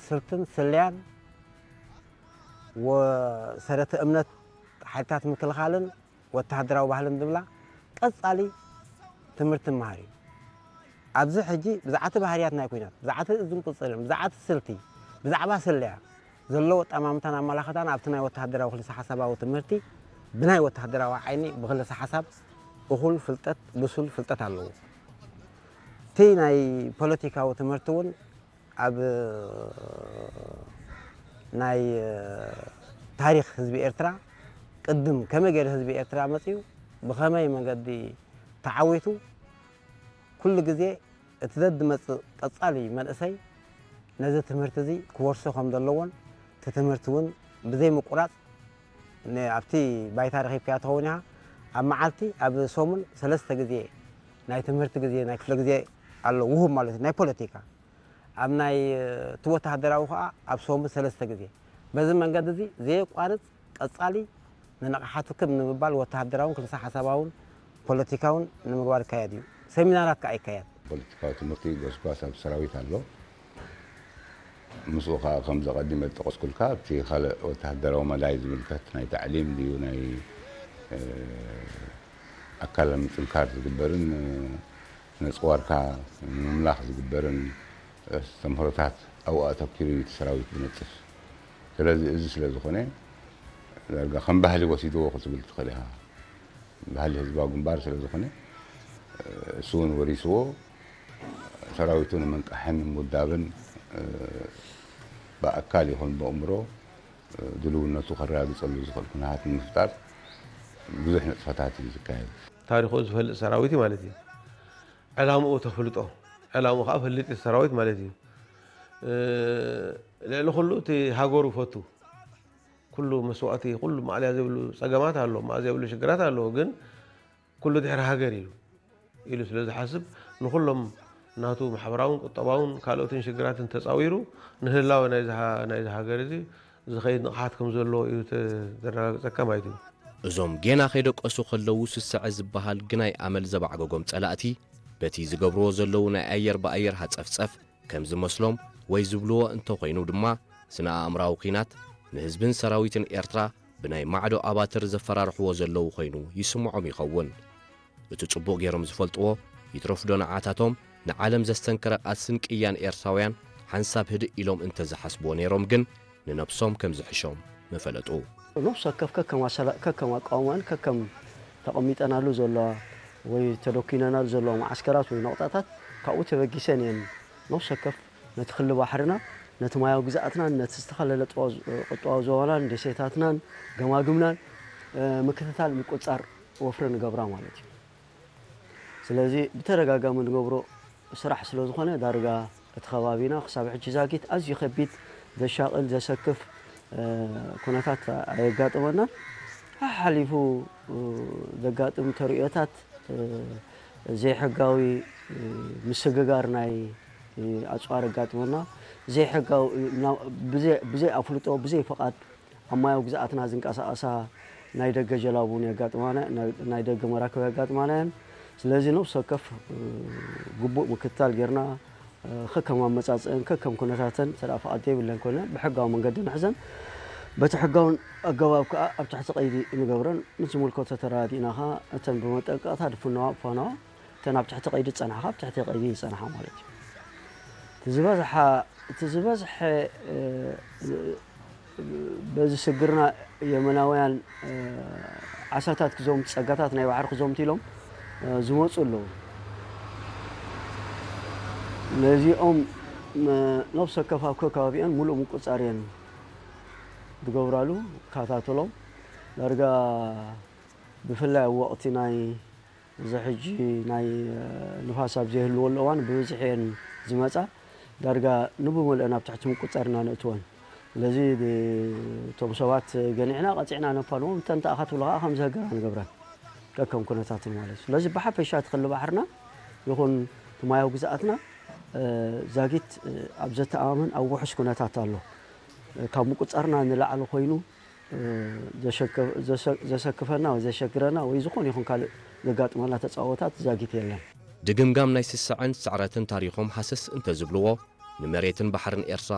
ስልትን ስለያን ወሰረተ እምነት ሓይልታት ምክልኻልን ወተሃደራዊ ባህልን ዝብላ ቀጻሊ ትምህርቲ ምሃር እዩ። ኣብዚ ሕጂ ብዛዕቲ ባህርያት ናይ ኲናት፣ ብዛዕቲ እዝን ቁጽልን፣ ብዛዕቲ ስልቲ፣ ብዛዕባ ስለያ ዘለዎ ኣጠማምታን ኣመላኽታን ኣብቲ ናይ ወተሃደራዊ ክልሰ ሓሳባዊ ትምህርቲ ብናይ ወተሃደራዊ ዓይኒ ብክልሰ ሓሳብ እኹል ፍልጠት፣ ብሱል ፍልጠት ኣለዎ። እቲ ናይ ፖለቲካዊ ትምህርቲ እውን ኣብ ናይ ታሪኽ ህዝቢ ኤርትራ ቅድም ከመይ ገይሩ ህዝቢ ኤርትራ መጺኡ ብኸመይ መንገዲ ተዓዊቱ ኩሉ ግዜ እቲ ዘድመጽእ ቀጻሊ መንእሰይ ነዚ ትምህርቲ እዚ ክወርሶ ከም ዘለዎን እቲ ትምህርቲ እውን ብዘይ ምቁራጽ ን- ኣብቲ ባይታ ረኺብካያ ትኸውን ኢኻ። ኣብ መዓልቲ ኣብ ሰሙን ሰለስተ ግዜ ናይ ትምህርቲ ግዜ ናይ ክፍለ ግዜ ኣሎ ውሁብ ማለት እዩ ናይ ፖለቲካ ኣብ ናይ እቲ ወተሃደራዊ ከዓ ኣብ ሰሙን ሰለስተ ግዜ በዚ መንገዲ እዚ ዘየቋርጽ ቀጻሊ ንንቕሓቱ ክብ ንምባል ወተሃደራውን ክልሰ ሓሳባውን ፖለቲካውን ንምግባር ይካየድ እዩ። ሰሚናራት ከዓ ይካየድ። ፖለቲካዊ ትምህርቲ ጎስጓስ ኣብ ሰራዊት ኣሎ። ምስኡ ከዓ ከምዚ ቀዲመ ዝጠቀስኩልካ ኣብቲ ካልእ ወተሃደራዊ መዳይ ዝምልከት ናይ ታዕሊም ድዩ ናይ ኣካል ምጥንካር ዝግበርን ነጽዋርካ ንምምላኽ ዝግበርን ኣስተምህሮታት ኣብኡ ኣተኪሩ እዩ እቲ ሰራዊት ዝነጥፍ። ስለዚ እዚ ስለ ዝኾነ ዳርጋ ከም ባህሊ ወሲድዎ ክትብል ትኽእል ኢኻ። ባህሊ ህዝባዊ ግንባር ስለ ዝኾነ እሱ እውን ወሪስዎ ሰራዊቱ ንምንቃሕን ንምውዳብን ብኣካል ይኹን ብኣእምሮ ድልውነቱ ከረጋግጸሉ ዝኽእል ኩነታት ንምፍጣር ብዙሕ ንጥፈታት እዩ ዝካየድ። ታሪኹ ዝፈልጥ ሰራዊት እዩ ማለት እዩ። ዕላምኡ ተፍልጦ፣ ዕላምኡ ከዓ ፈልጥ እዩ ሰራዊት ማለት እዩ። ልዕሊ ኩሉ እቲ ሃገሩ ይፈቱ። ኩሉ መስዋእቲ፣ ኩሉ ማዕልያ ዘይብሉ ፀገማት ኣሎ፣ ማዕልያ ዘይብሉ ሽግራት ኣሎ። ግን ኩሉ ድሕሪ ሃገር ኢሉ ኢሉ ስለ ዝሓስብ ንኹሎም ናቱ ማሕበራውን ቁጠባውን ካልኦትን ሽግራትን ተፃዊሩ ንህላወ ናይዚ ሃ- ናይዚ ሃገር እዚ ዝኸይድ ንቕሓት ከም ዘሎ እዩ ተ- ዘረጋግፀካ ማለት እዩ። እዞም ጌና ከይደቀሱ ከለዉ ስስዐ ዝበሃል ግናይ ኣመል ዘባዕገጎም ጸላእቲ በቲ ዝገብርዎ ዘለዉ ናይ ኣየር ብኣየር ሃጸፍጸፍ ከም ዝመስሎም ወይ ዝብልዎ እንተኾይኑ ድማ ስነ ኣእምራዊ ኲናት ንህዝብን ሰራዊትን ኤርትራ ብናይ ማዕዶ ኣባትር ዘፈራርሕዎ ዘለዉ ኮይኑ ይስምዖም ይኸውን። እቲ ጽቡቕ ገይሮም ዝፈልጥዎ ይትረፍዶ ንዓታቶም ንዓለም ዘስተንከረ ቃልስን ቅያን ኤርትራውያን ሓንሳብ ህድእ ኢሎም እንተዝሓስብዎ ነይሮም ግን ንነብሶም ከምዝሕሾም ምፈለጡ። ነፍሲ ወከፍ ከከም ኣሰላ- ከከም ኣቃውማን ከከም ተቐሚጠናሉ ዘለዋ ወይ ተደኲነናሉ ዘለዋ መዓስከራት ወይ ነቑጣታት ካብኡ ተበጊሰን እየን ነፍሲ ወከፍ ነቲ ክሊ ባሕርና ነቲ ማያዊ ግዝኣትናን ነቲ ዝተፈላለለ ጥዋ- ቁጠባዊ ዞባናን ደሴታትናን ገማግምናን ምክትታል ምቁጽጻር ወፍሪ ንገብራ ማለት እዩ። ስለዚ ብተደጋጋሚ ንገብሮ ስራሕ ስለ ዝኾነ ዳርጋ እቲ ከባቢና ክሳብ ሕጂ ዛጊት ኣዝዩ ከቢድ ዘሻቕል ዘሰክፍ ኩነታት ኣየጋጥመናን። ሓሓሊፉ ዘጋጥም ተርእዮታት ዘይሕጋዊ ምስግጋር ናይ ኣፅዋር ኣጋጥመና ዘይሕጋዊ ብዘይ ኣፍልጦ ብዘይ ፈቓድ ኣብ ማያዊ ግዝኣትና ዝንቀሳቐሳ ናይ ደገ ጀላቡ እውን የጋጥማና፣ ናይ ደገ መራክብ የጋጥማና እየን። ስለዚ ነብሲ ወከፍ ግቡእ ምክትታል ጌርና ከከም ኣመፃፅእን ከከም ኩነታተን እንተ ፍቓድ ዘይብለን ኮይነ ብሕጋዊ መንገዲ ንሕዘን። በቲ ሕጋውን ኣገባብ ከዓ ኣብ ትሕቲ ቀይዲ ንገብረን። ምስ ዝምልከቶ ተረዳዲእና ከዓ እተን ብመጠንቀቕታ ድፍነዋ፣ እፋነዋ እተን ኣብ ትሕቲ ቀይዲ ዝጸንሓ ካብ ትሕቲ ቀይዲ ይጸንሓ ማለት እዩ። እቲ ዝበዝሓ እቲ ዝበዝሐ በዚ ስግርና የመናውያን ዓሳታት ክዘምቱ ጸጋታት ናይ ባሕሪ ክዘምቱ ኢሎም ዝመፁ ኣለዉ። ነዚኦም ነብሰ ወከፍ ኣብ ከከባቢኦን ሙሉእ ምቁፅፃር እየን ዝገብራሉ። ይከታተሎም ዳርጋ ብፍላይ ኣብ ወቕቲ ናይ እዚ ሕጂ ናይ ንፋስ ኣብ ዘይህልወሉ እዋን ብብዝሒ እየን ዝመፃ። ዳርጋ ንብመልአን ኣብ ትሕቲ ምቁፅፃር ኢና ነእትወን። ስለዚ እቶም ሰባት ገኒዕና ቀፂዕና ነፋንዎም፣ እተን ተኣኻ ትብሎ ከዓ ከም ዘህገራ ንገብረን ከከም ኩነታትን ማለት እዩ። ስለዚ ብሓፈሻ እቲ ክሊ ባሕርና ይኹን እቲ ማያዊ ግዝኣትና ዛጊት ኣብ ዘተኣማምን ኣብ ውሑስ ኩነታት ኣሎ። ካብ ምቁፅፃርና ንላዕሊ ኮይኑ ዘሰክፈና ወይ ዘሸግረና ወይ ዝኾነ ይኹን ካልእ ዘጋጥመና ተፃወታት ዛጊት የለን። ድግምጋም ናይ ስስዐን ስዕረትን ታሪኾም ሃሰስ እንተዝብልዎ ንመሬትን ባሕርን ኤርትራ